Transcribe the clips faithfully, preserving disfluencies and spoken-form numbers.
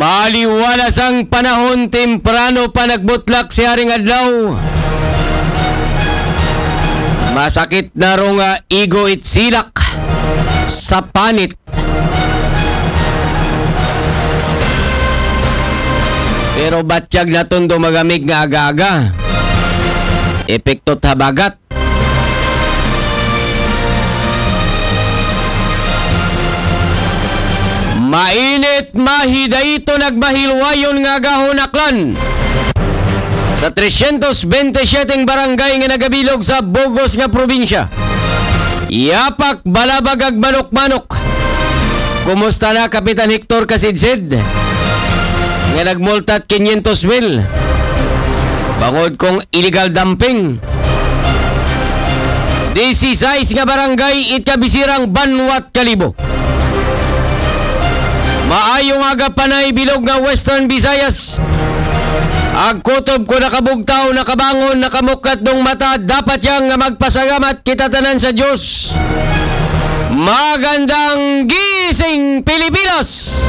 Aliwalas ang panahon, temprano pa nagbutlak si Haring Adlaw. Masakit na rong ah, igo it silak sa panit. Pero batyag na tondo magamig nga aga-aga. Epekto habagat. Mainit, mahidayto, nagmahilwayon nga agahon Aklan. Sa tresyentos bente siyete barangay nga nagabilog sa bugos nga probinsya. Yapak, balabag ag manok-manok. Kumusta na, Kapitan Hector Kasidsid? Nga nagmultat kinyentos mil. Bangod kong illegal dumping. Disisais nga barangay it kabisirang banwat Kalibo. Maayong aga panay bilog nga Western Visayas. Ag kutob ko nakabugtaw, nakabangon, nakamukat dong mata, dapat yang nga magpasalamat kita tanan sa Diyos. Magandang gising, Pilipinas!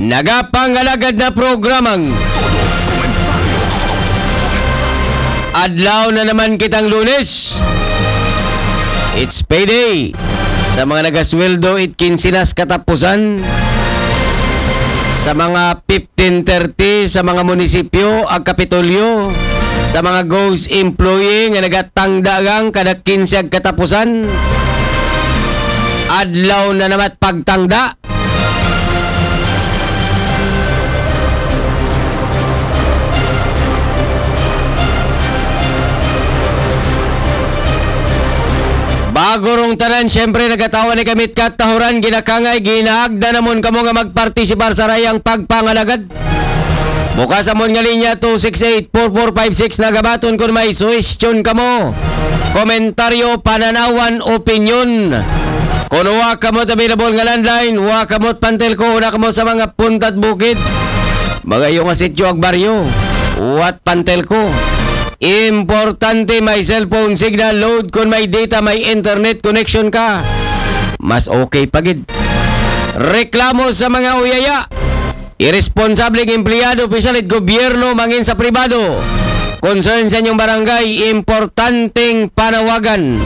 Nagapangalagad na programang Adlaw na naman kitang Lunes. It's payday. Sa mga nagasweldo, it kinsinas katapusan. Sa mga fifteen thirty, sa mga munisipyo, ag Kapitolyo, sa mga ghost employee nga nagatangda lang kada kinse ag katapusan. Adlaw na naman pagtangda. Bago rong tanan, siyempre, nagatawa ni kamit katahuran, ginakangay, ginaagda namon kamo nga magpartisipar sa rayang pagpangalagad. Bukas amon nga linya, two six eight, four four five six, nagabaton kun may suwestyon kamo, komentaryo, pananawan, opinyon. Kun wa kamo available nga landline, wa kamo pantelko, una kamo sa mga puntad bukid. Mga iyo nga sityo ag baryo, wat pantelko. Importante may cellphone signal load, kun may data, may internet connection ka. Mas okay pa gid. Reklamo sa mga uyaya. Irresponsableng empleyado, opisyal it gobyerno, mangin sa pribado. Concern sa inyong barangay, importanteng panawagan.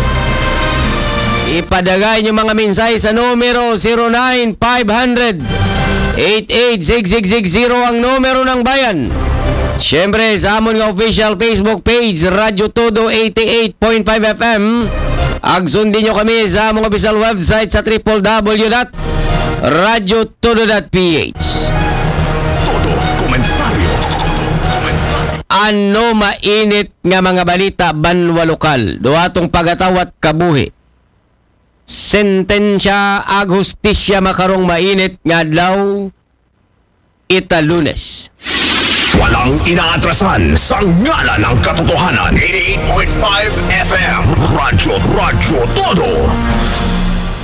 Ipadala inyong mga mensahe sa numero zero nine five hundred, eight eight six six six zero, ang numero ng bayan. Siyempre, sa amon nga official Facebook page, Radyo Todo eighty-eight point five F M. Ag sundin nyo kami sa among official website sa triple W dot radyo todo dot P H. Todo komentaryo. Ano mainit nga mga balita banwa lokal? Duha tong pagatawat kabuhi. Sentensya ag hustisya makarong mainit nga adlaw, ita Lunes. Walang inaatrasan sa ngalan ng katotohanan. Eighty-eight point five F M. Radyo, Radyo Todo.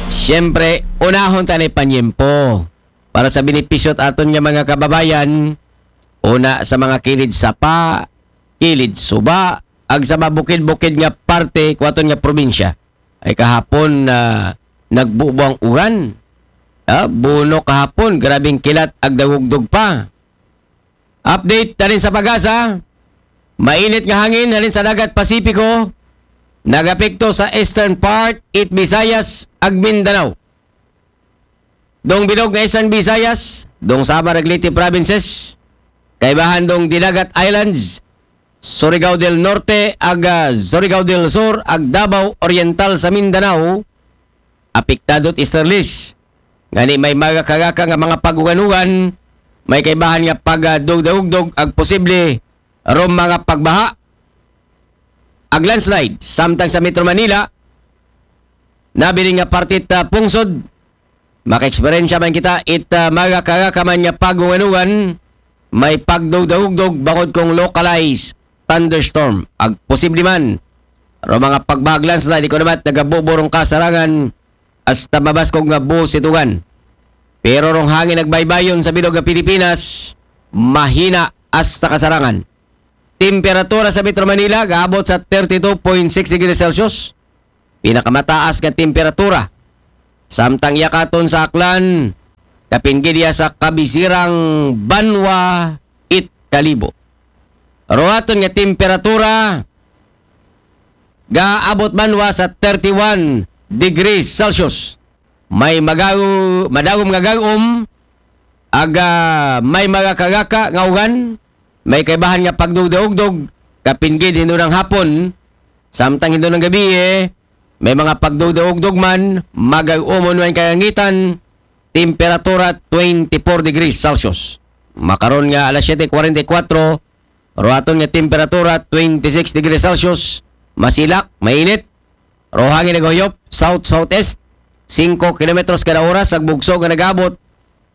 Siyempre, unahon ta ni panyempo para sa benepisyo at aton nga mga kababayan, una sa mga kilid sapa, kilid suba, ag sa mabukid-bukid nga parte kuwaton nga probinsya. Ay kahapon na nagbubo ang uran. Ah, buno kahapon, grabing kilat ag dagugdog pa. Update tanin sa pag-asa, mainit nga hangin halin sa dagat Pasipiko, nagapekto sa eastern part, it Visayas, ag Mindanao. Dong bilog nga Eastern Visayas, dong Samar ag Leyte provinces, kaibahan dong Dinagat Islands, Surigao del Norte, ag, ah, Surigao del Sur, ag Davao Oriental sa Mindanao, apektado it easterlies. Ngani may magakagaka nga mga paguganugan, may kaibahan nga pagdugdagugdog ag posible ron mga pagbaha ag landslide. Samtang sa Metro Manila, nabilin nga parte ta pungsod, maka-eksperyensya man kita it, ah, magakagaka man nga paguganugan, may pagdugdagugdog bangod kong localized thunderstorm. Ag posible man ron mga pagbaha ag landslide, ikaw naman nagabubo rong kasarangan hasta mabaskog nga buhos it ugan. Pero rong hangin ag baybayon sa bilog nga Pilipinas, mahina hasta kasarangan. Temperatura sa Metro Manila gaabot sa thirty-two point six degrees Celsius. Pinakamataas nga temperatura. Samtang iya katon sa Aklan, Kapin gid hiya sa kabisirang banwa it Kalibo. Ruhaton nga temperatura gaabot banwa sa thirty-one degrees Celsius. May magaw, madagom nga gag-om, aga may magakagaka nga ugan, may kaibahan nga pagdugdog-ugdog, kapin gid hinunang hapon, samtang hinunang gabii, may mga pagdugdog-ugdog man, magag-umon man kalangitan, temperatura twenty-four degrees Celsius. Makaron nga alas siyete kuwarenta y kuwatro, ruhaton nga temperatura twenty-six degrees Celsius, masilak, mainit, ruhangin nagahuyop, south-southeast, singko kilometros kada oras, ag bugso nga nagabot,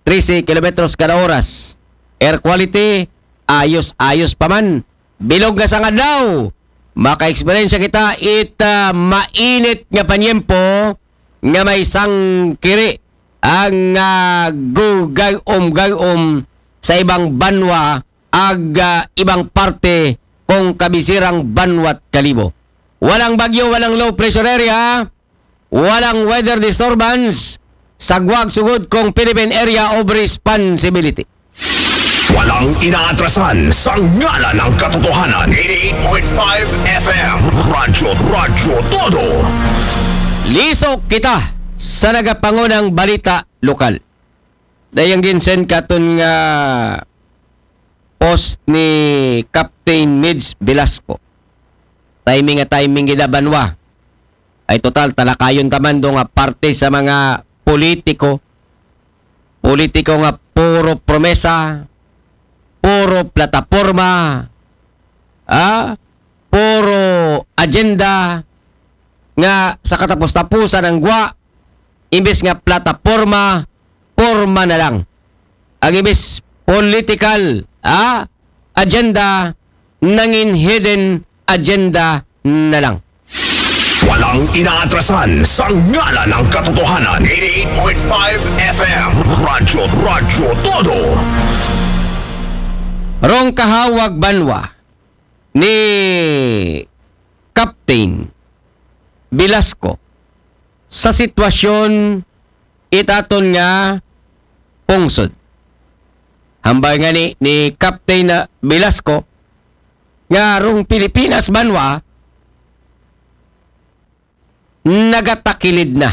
trese kilometros kada oras. Air quality, ayos-ayos pa man. Bilog nga sangag adlaw, maka-eksperyensya kita it ah, mainit nga panyempo nga may sangkiri ang ah, gugag-om-gag-om sa ibang banwa ag ah, ibang parte kung kabisirang banwa't Kalibo. Walang bagyo, walang low pressure area, walang weather disturbance, sagwag sugod kung Philippine Area of Responsibility. Walang inaatrasan sa ngalan ng katotohanan. Eighty-eight point five F M. Radyo, Radyo Todo. Lisok kita sa nagapangunang balita lokal. Dayang ginsend katon nga post ni Captain Mids Velasco. Timing nga timing gid, banwa. Ay total, talakayon ta man do nga parte sa mga politiko. Politiko nga puro promesa, puro plataporma, ah, puro agenda nga sa katapos-tapusan ang gwa, imbes nga plataporma, porma na lang. Ang imbes political, ah, agenda, nangin hidden agenda na lang. Walang inaatrasan sa ngalan ng katotohanan. Eighty-eight point five F M. Radyo, Radyo Todo. Rong kahawag banwa ni Captain Velasco sa sitwasyon itaton nga pungsod. Hambal nga ni, ni Captain na Velasco nga rong Pilipinas banwa nagatakilid na.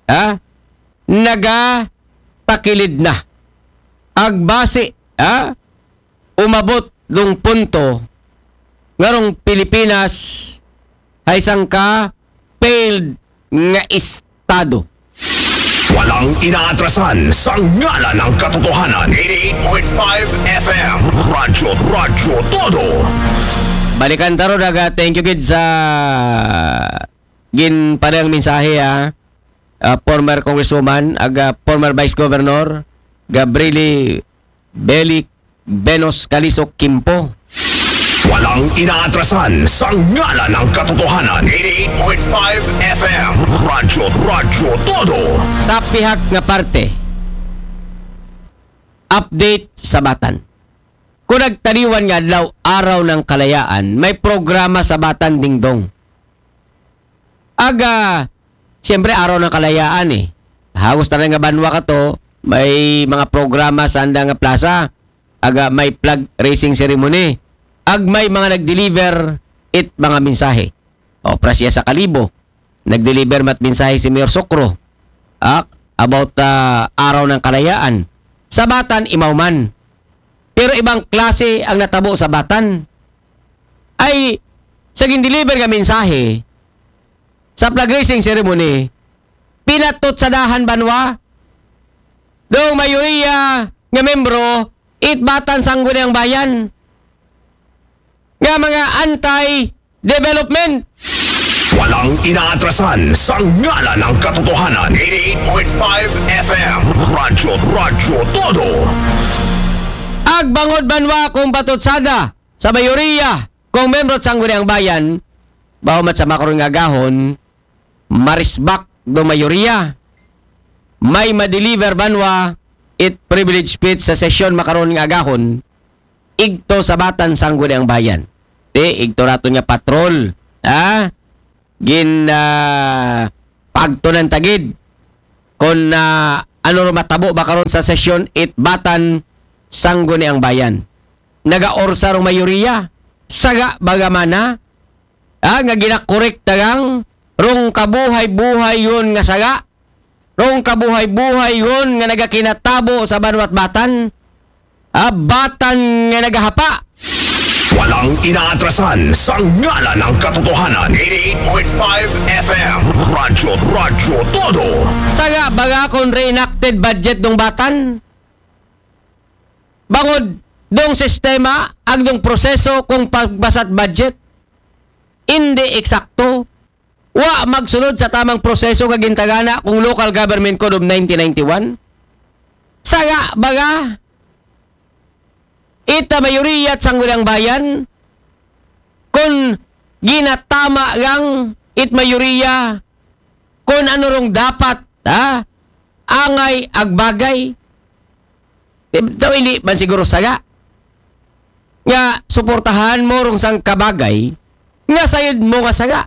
Ha? Nagatakilid na. Agbasi, ha? Umabot dong punto nga rong Pilipinas ay isang ka failed nga estado. Walang inaatrasan sa ngalan ng katotohanan. Eighty-eight point five F M. Radyo, Radyo Todo. Balikan ta ro daga, thank you gid sa ginpadayang mensahe, ha. Ah, former Congresswoman, aga former Vice Governor Gabrielle Belic Venos Calizo Quimpo. Walang inaatrasan sa ngalan ng katotohanan. Eighty-eight point five F M. Radyo, Radyo Todo. Sa pihak nga parte, update sa Batan. Kung nagtaliwan nga adlaw, araw ng kalayaan, may programa sa Batan, Dingdong. Aga, siyempre, araw ng kalayaan eh. Hagos tanan nga banwa kato, may mga programa sa anda nga plaza. Aga, may flag raising ceremony. Ag may mga nag-deliver it mga mensahe. Opera siya sa Kalibo. Nag-deliver mat mensahe si Mayor Sokro. Ah, about ah, araw ng kalayaan. Sa Batan, imaw man. Pero ibang klase ang natabo sa Batan. Ay, sa gin-deliver nga mensahe, sa flag raising ceremony, pinatot sa dahan banwa, dong mayoriya nga membro, it Batan Sangguniang Bayan, nga mga anti-development. Walang inaatrasan sa ngalan ng katotohanan. Eighty-eight point five F M. Radyo, Radyo Todo. Agbangod banwa kung patutsada sa mayoriya kung membro sa Sangguniang Bayan, bahumat sa makaron nga agahon, marisbak do mayoriya. May ma-deliver banwa it privilege speech sa sesyon makaron nga agahon, igto sa Batan Sangguniang Bayan. Ti, igto naton nga patrol. Ha? Gin ah, pagtunan tagid kon na Ano ro matabo ba karon sa sesyon it Batan Sangguniang Bayan? Nagaorsa rong mayoriya? Saga baga man na? Ah, nga ginakorek dagang rong kabuhay-buhay yon nga saga? Rong kabuhay-buhay yon nga nagakinatabo sa banwa't Batan? Ah, Batan nga nagahapa? Walang inaatrasan sa ngalan ng katotohanan. Eighty-eight point five F M. Radyo, Radyo Todo. Saga baga kon reenacted budget dong Batan? Bangod dong sistema, ag dong proseso kong pagbasa't budget, indi eksakto. Wa magsunod sa tamang proseso nga gintagana kong Local Government Code of nineteen ninety-one. Saga baga, ita mayoriya at Sangguniang Bayan, kon ginatama gang it mayoriya, kon ano rong dapat, ha? Angay ag bagay. Di, daw hindi man siguro saga. Nga, suportahan mo rong sang kabagay, nga sayod mo nga saga.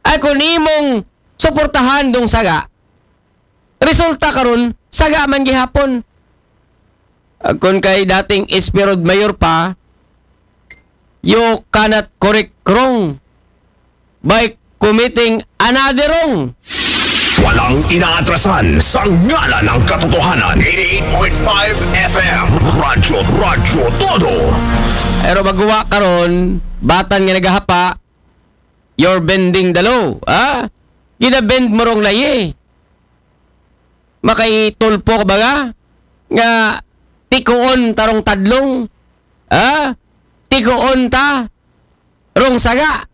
Ay, kung imong suportahan dong saga, resulta karon, saga man gihapon. Ag kon kay dating Esperod Mayor pa, you cannot correct wrong by committing another wrong. Walang inaatrasan sa ngalan ng katotohanan. Eighty-eight point five F M. Radyo, Radyo Todo. Pero baguwa karon, Batan nga nagahapa, you're bending the law, ha? Gina-bend mo rong layi. Makaitulpo ka baga nga tikuon ta rong tadlong, ha? Tikuon ta rong saga.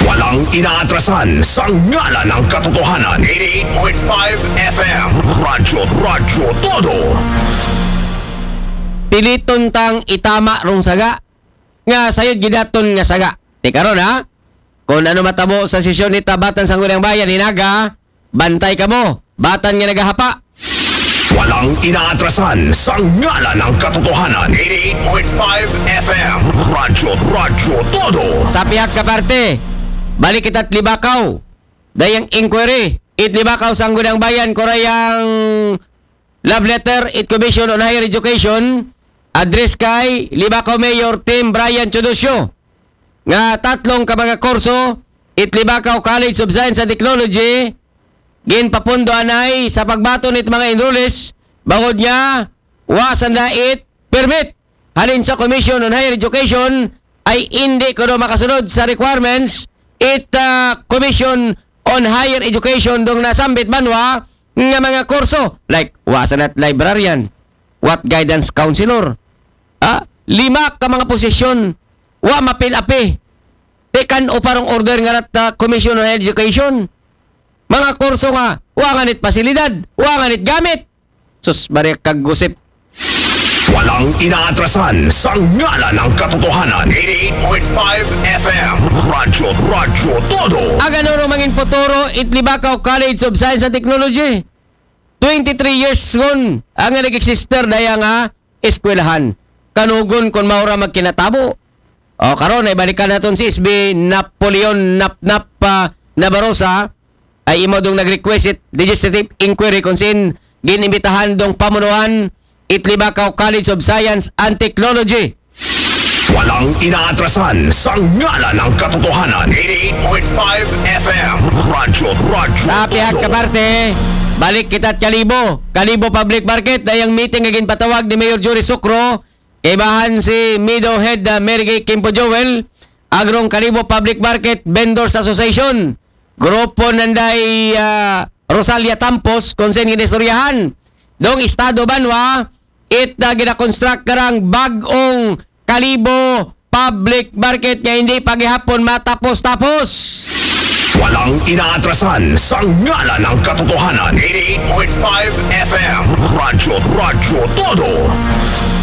Walang inaatrasan sa ngalan ng katotohanan. Eighty-eight point five F M. Radyo, Radyo Todo. Piliton tang itama rong saga nga sayod gid aton nga saga. Ti karon, ha? Kung ano matabo sa sesyon ni Batan Sangguniang Bayan, hinaga, bantay kamo. Batan nga nagahapa. Walang inaatrasan sa ngalan ng katotohanan. Eighty-eight point five F M. Radyo, Radyo Todo. Sa pihak ka parte, balik kita't Libakaw. Dayang inquiry, it Libakaw Sangguniang Bayan, kurayang love letter, it Commission on Higher Education, address kay Libakaw Mayor Tim Brian Teodosio, nga tatlong ka mga kurso, it Libakaw College of Science and Technology, ginpapundo anay sa pagbaton it mga enrollees, bangod nga wa sanda it permit halin sa Commission on Higher Education, ay indi kuno makasunod sa requirements it, ah, Commission on Higher Education dong nasambit banwa nga mga kurso, like, wa sanda't librarian, wa't guidance counselor. Ah, lima ka mga posisyon, wa mapin-api. Tikan o parang order nga rat, ah, Commission on Higher Education. Mga kurso nga, wa nganit pasilidad, wa nganit gamit. Sus, bari kag gusip. Walang inaatrasan sa ngalan ng katotohanan. Eighty-eight point five F M. Radyo, Radyo Todo. Ag ano ro mangin futuro it Libakaw College of Science and Technology? Twenty-three years ngon ang nag-exister daya nga eskwelahan. Kanugon kon mao ra magkinatabo. O, karon, ay balikan naton si S B Napoleon Napnap, ah, Nabarosa, ay imo dong nag-request it legislative inquiry kung sin ginimbitahan dong pamunuan it Libakaw College of Science and Technology. Walang inaatrasan sa ngalan ng katotohanan. Eighty-eight point five F M. Radyo, Radyo Sa pihak Todo. Ka parte, balik kita't Kalibo. Kalibo Public Market, dayang meeting nga ginpatawag ni Mayor Jory Socro, kaibahan si Mido Head, ah, Mary Gay Kimpo Joel, agrong Kalibo Public Market Vendors Association, grupo nanday, ah, Rosalia Tampos, kung sin ginistoryahan dong estado banwa, it, ah, ginakonstruct karang bag-ong Kalibo Public Market nga hindi pa gihapon matapos-tapos. Walang inaatrasan sa ngalan ng katotohanan. Eighty-eight point five F M. Radyo, Radyo Todo.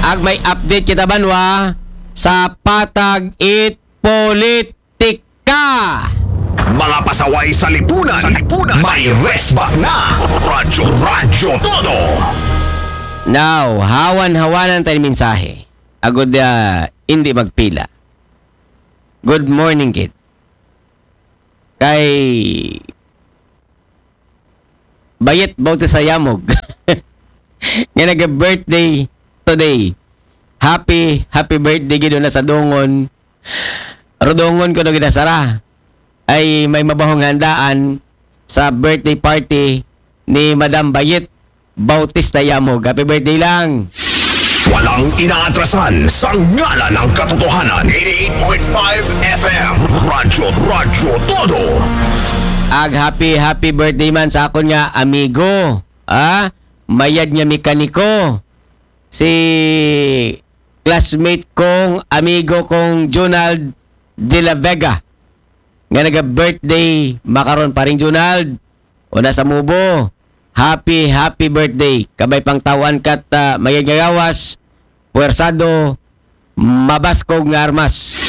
Ag may update kita banwa sa Patag It Politika. Mga pasaway sa lipunan, sa lipunan, may resbak na. Radyo, Radyo Todo. Now, hawan-hawanan tayo mensahe. Agud, ah, hindi magpila. Good morning, kid. Kay Bayet Bautista Yamog. Nga naga-birthday today. Happy, happy birthday gid una sa Dungon. Rodongon ko gid sara. Ay may mabahong handaan sa birthday party ni Madam Bayet Bautista Yamog. Happy birthday lang. Walang inaatrasan sa ngalan ng katotohanan. eighty-eight point five F M. Radyo, Radyo Todo. Ag happy, happy birthday man sa akon nga amigo. Ah, mayad nga mekaniko. Si classmate kong amigo kong Junald de la Vega. Nga naga-birthday makaron, paring Junald. Una sa mubo. Happy, happy birthday. Kabay pang tawaan kat ah, mayad nga gawas. Puwersado, mabaskog nga armas.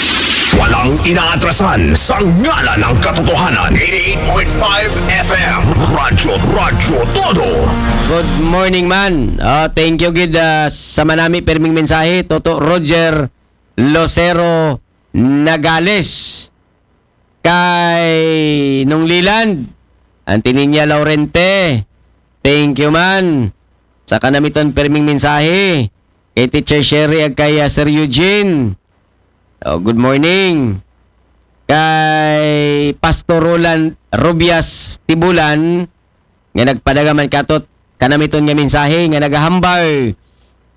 Walang inaatrasan sa ngalan ng katotohanan. eighty-eight point five F M. Radyo, Radyo Todo. Good morning man. Ah, thank you gid ah, sa manami perming mensahe. Toto Roger Lucero Nagales. Kay Nung Liland. Antininya Laurente. Thank you man. Sa kanamiton perming mensahe. Kay Teacher Sherry ag kay ah, Sir Eugene. Oh, good morning. Kay Pastor Roland Rubias Tibulan, nga nagpadagaman katot kanamiton nga mensahe nga nagahambal,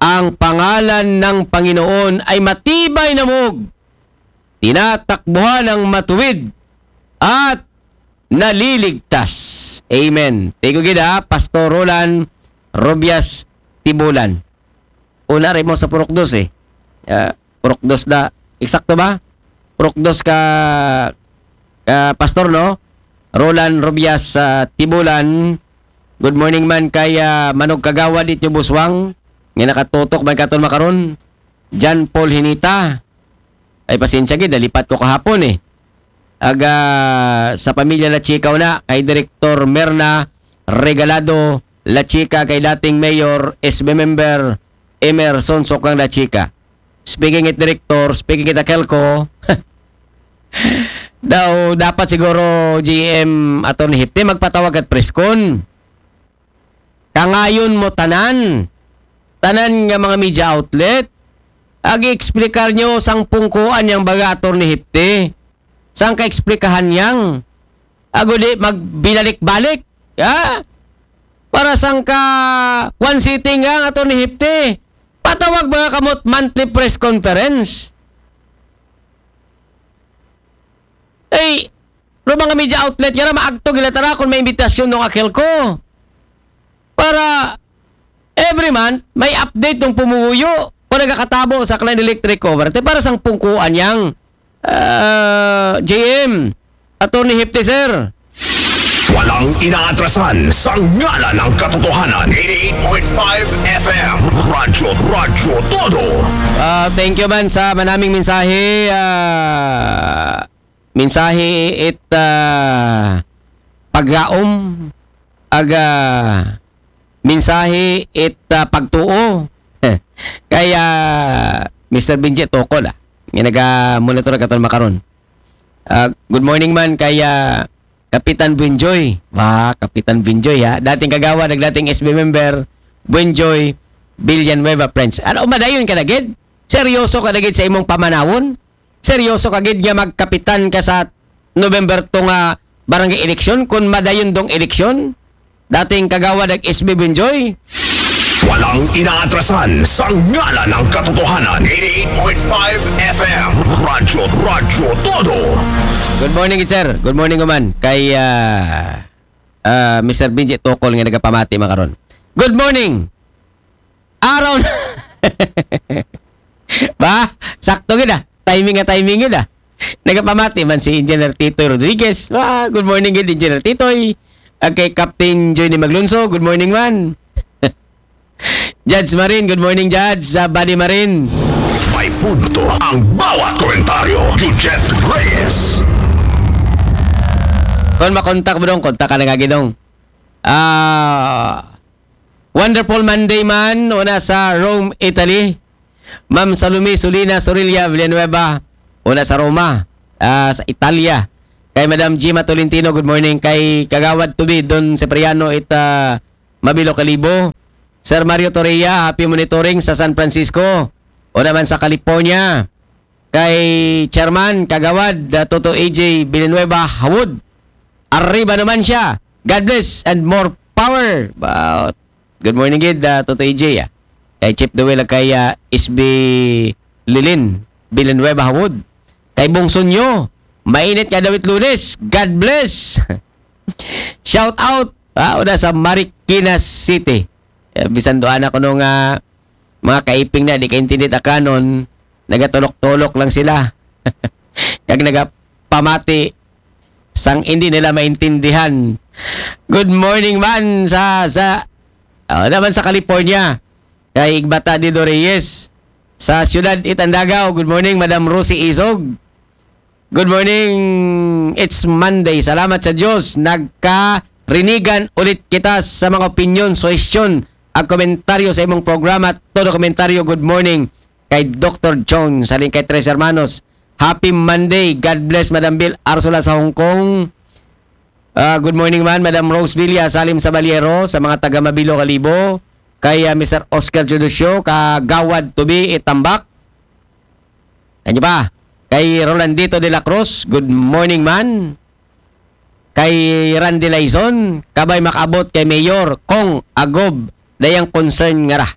ang pangalan ng Panginoon ay matibay na mog, tinatakbuhan ng matuwid at naliligtas. Amen. Tigo gid ha, Pastor Roland Rubias Tibulan. Una rin mo sa Purok Dos eh. Ah, Purok Dos da. Eksakto ba? Purok Dos ka, ka Pastor, no? Roland Rubias sa Tibulan. Good morning man kay ah, Manog Kagawa dit nyo Buswang. Nga nakatutok man katon makaron. John Paul Hinita. Ay pasensya gid, nalipat ko kahapon eh. Aga sa pamilya La Chica una, kay Direktor Merna Regalado La Chica, kay dating Mayor, S B member Emerson Sokang La Chica. Speaking it Director, speaking it Akelco, daw dapat siguro G M Attorney Hipte magpatawag at press con. Kangayon mo tanan, tanan nga mga media outlet, agi-explicar nyo sang pungkuan yang baga Attorney Hipte, sang kaexplikahan yang, ago di magbinalik-balik, ha? Para sang ka one sitting nga Attorney Hipte, patawag ba kamot monthly press conference? Ay, ro mga media outlet nga ra, maagto gila tara kung may imbitasyon ng Akelco. Para every month, may update ng pumuyo kung nagakatabo sa Klein Electric Cover. Te, para sang pungkuan yang ah, G M, Attorney Hipte, sir. Walang inaatrasan sa ngalan ng katotohanan. eighty-eight point five F M. Radyo, Radyo Todo. Ah, thank you man sa manaming mensahe. Ah, mensahe it ah, paggaom aga mensahe it ah, pagtuo. Kaya Mister Benji Tokol ah. Nga naga-monitor katon makaron. Ah, good morning man kay ah, Kapitan Buenjoy. Ba, Kapitan Buenjoy ha. Dating kagawad, nag dating S B member, Buenjoy Villanueva Prince. Ano, madayon ka na gid? Seryoso ka na gid sa imong pamanawon? Seryoso ka gid nga magkapitan ka sa November two nga barangay election kung madayon dong election? Dating kagawad ag S B Buenjoy? Walang inaatrasan sa ngalan ng katotohanan. eighty-eight point five F M. Radyo, Radyo Todo. Good morning, sir. Good morning, man. Kay ah, ah, Mister Benji Tokol nga nagapamati makaron. Good morning. Araw na. Ba? Sakto gid ah. Timing nga timing gid ah. Nagapamati man si Engineer Titoy Rodriguez. Ah, good morning gid, Engineer Titoy. Ah, kay Captain Johnny Maglunso, good morning man. Judge Marin, good morning, Judge. Sa Buddy Marin. May punto ang bawat komentaryo. Judgette Reyes. Kung makontak mo dong, kontak ka na nga gidong. Ah, wonderful Monday man, una sa Rome, Italy. Ma'am Salome Solina Sorilla Villanueva, una sa Roma, ah, sa Italia. Kay Madam Gima Tolentino, good morning. Kay Kagawad Tubi, Don Cipriano, ita Mabilo Kalibo. Sir Mario Torreya, happy monitoring sa San Francisco. O naman sa California. Kay Chairman, Kagawad, uh, Toto A J Villanueva Hawod. Arriba naman siya. God bless and more power. Wow. Good morning, gid, uh, Toto A J, ah. Kay Chief Dewey, kay, uh, S B Lilin Villanueva Hawod. Kay Bong Sunyo, mainit nga dawit Lunes. God bless. Shout out, ah, una sa Marikina City. Eh, bisan doon ako nung, ah, mga kaiping na, di kaintindi ta kanon, nagatulok-tulok lang sila. Kag nagapamati, sang hindi nila maintindihan. Good morning man sa, sa, oh, naman sa California. Kay Igbata Dido Reyes. Sa siyudad Itandagaw, good morning, Madam Rosie Isog. Good morning. It's Monday. Salamat sa Diyos. Nagkarinigan ulit kita sa mga opinyon, suhestyon, ag komentaryo sa imong programa. Todo komentaryo, good morning. Kay Doctor Jones, halin kay Tres Hermanos. Happy Monday. God bless, Madam Bill Arsola sa Hong Kong. Ah, good morning man, Madam Rose Villa, Salim Sabaliero, sa mga taga Mabilo, Kalibo. Kay, ah, Mister Oscar Teodosio, Kagawad Tubi, Itambak. Ano pa? Kay Rolandito de la Cruz, good morning man. Kay Randy Laison, kabay makaabot kay Mayor Kong Agob, dayang concern nga ra.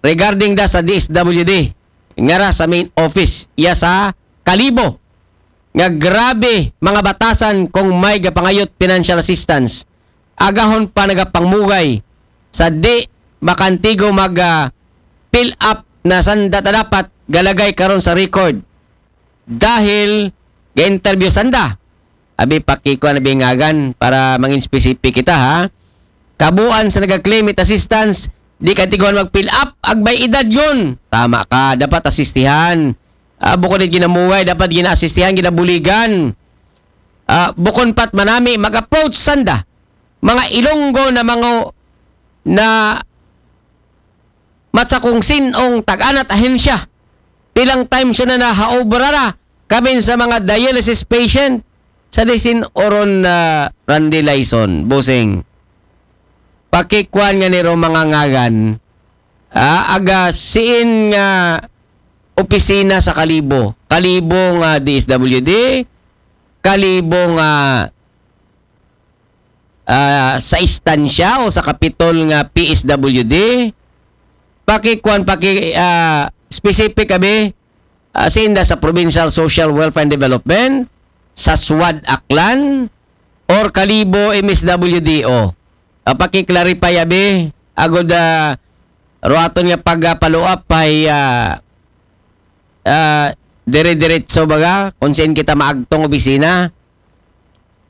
Regarding da sa D S W D, nga ra sa main office, iya sa Kalibo, nga grabe mga batasan kung may gapangayot financial assistance. Agahon pa nagapangmugay sa di makantigo mag, ah, fill up na sanda ta dapat galagay karon sa record. Dahil ga-interview sanda. Abi, pakikuan abi ngagan para mangin specific kita, ha. Kabuan sa naga-claim it assistance, di ka tiguan mag-fill up, agbay edad yun. Tama ka, dapat asistihan. Ah, bukod it ginamugay, dapat ginaasistihan, ginabuligan. Ah, bukon pat manami, mag-approach sanda. Mga Ilonggo na mga na matsa kung sinong tag-anat ahensya. Pilang times yun na nahaobra na kami sa mga dialysis patient sa disin oron na Randy Lyson, busing. Pakikuan nga niro mga ngagan, ah, aga siin nga opisina sa Kalibo. Kalibo nga D S W D, Kalibo nga, ah, sa istansya o sa kapitol nga P S W D. Pakikuan, paki, ah, specific abi, ah, sinda sa Provincial Social Welfare and Development, sa SWAD Aklan, or Kalibo M S W D O. Ah, paki-clarify abi, agod, ah, ruaton nga pag, ah, follow up ay, ah, ah, dire-diretso baga kung saan kita maagtong opisina.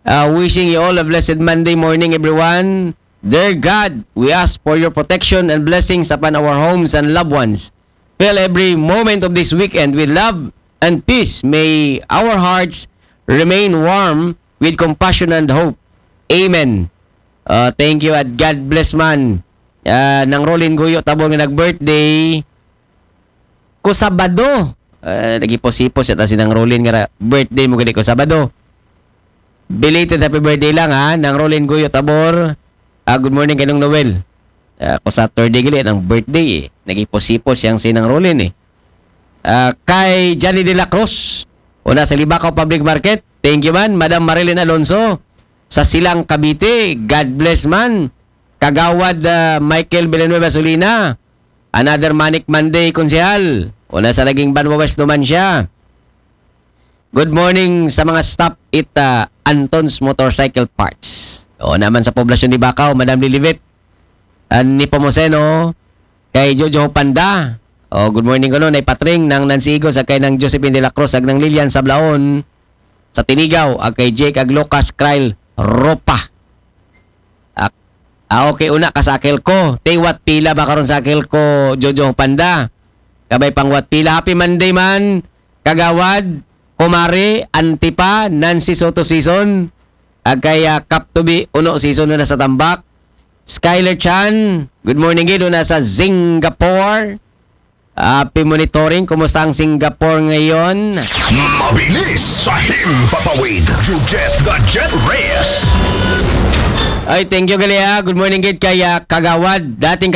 Uh, wishing you all a blessed Monday morning, everyone. Dear God, we ask for your protection and blessings upon our homes and loved ones. Fill every moment of this weekend with love and peace. May our hearts remain warm with compassion and hope. Amen. Uh, thank you at God bless man. Uh, nang Rolin Guyo Tabor nga nag-birthday ko Sabado. Uh, naghipos-hipos yata si nang Rolin nga ra-, birthday mo gani ko Sabado. Belated happy birthday lang, ha, nang Rolin Guyo Tabor. Ah, good morning kay Nong Noel. Ah, ko Saturday gali ang birthday, eh. Naghipos-hipos yang si nang Rolin, eh. Ah, kay Johnny de la Cruz, una sa Libacao Public Market. Thank you man, Madam Marilyn Alonso. Sa Silang Cavite, God bless man. Kagawad, ah, Michael Villanueva Solina. Another Manic Monday, Konsehal. Una sa naging Banwa West naman siya. Good morning sa mga staff it, ah, Anton's Motorcycle Parts. O naman sa poblasyon ni Bacau, Madam Lilibet. An Nepomuceno, kay Jojo Panda. O, good morning ko no, Nay Patring, nang Nancy Igos, ag kay nang Josephine de la Cruz, ag nang Lilian Sablaon, sa Tinigaw, ag kay Jake, ag Lucas, Kyle, Ropa. Ak-, ah, okay, una ka sa Akelco. Te, what pila ba karon sa Akelco, Jojo Panda? Kabay pang what pila. Happy Monday man, Kagawad, Kumare, Antipa, Nancy Soto season. Ag kay, ah, Kap Tubi, Uno season na sa Tambak. Skyler Chan, good morning, gid, una sa Singapore. Happy monitoring. Kumusta ang Singapore ngayon? Mabilis sa Himpapawid. Jujet the Jet Reyes. Ay, thank you gali ha. Good morning gid kay ah, Kagawad. Dating